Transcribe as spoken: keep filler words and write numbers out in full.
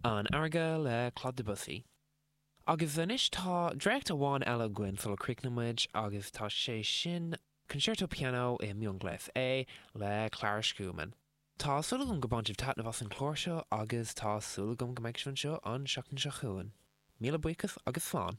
An Fharraige le Claude Debussy. Agus anois tá dréacht amháin eile againn sula gcríochnóimid agus tá sé sin Concerto Piano i mionghléas A le Clara Schumann. Tá súil agam gur bhain sibh taitneamh as an chlár seo agus tá súil agam go mbeidh sibh anseo an seachtain seo chugainn. Míle buíochas agus slán.